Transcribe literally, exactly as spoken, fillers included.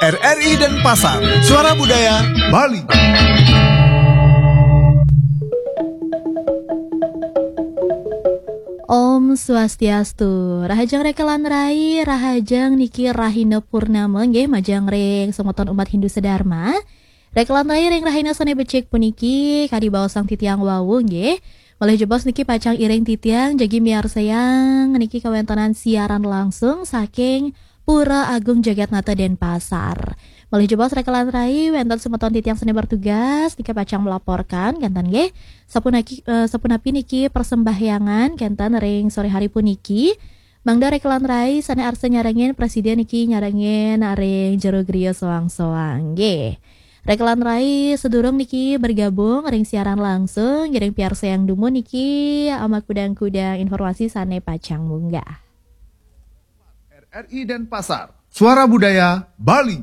R R I Denpasar, Suara Budaya Bali. Om Swastiastu. Rahajeng rekelan rai, rahajeng niki rahina purnama nggih majeng ring semeton umat Hindu sedharma. Rekelan rai ring rahina sane becik puniki kadi baosang titiang wau nggih. Malih jebos niki pacang iring titiang jagi miarsayang niki kawentenan siaran langsung saking Pura Agung Jagatnata Denpasar. Malih jebos rekelan rai wenten semeton titiang sane bertugas niki pacang melaporkan kenten nggih. Sapunaki, eh, sapunapi niki persembahyangan kenten ring sore hari puniki. Mangda rekelan rai sane arsa nyarengin presiden niki nyarengin ring jero griya soang-soang nggih. Rekelan rai sedurung niki bergabung ring siaran langsung ngiring piarsayang dumun niki ama kudang-kudang informasi sane pacang munggah. R R I Denpasar, Suara Budaya Bali.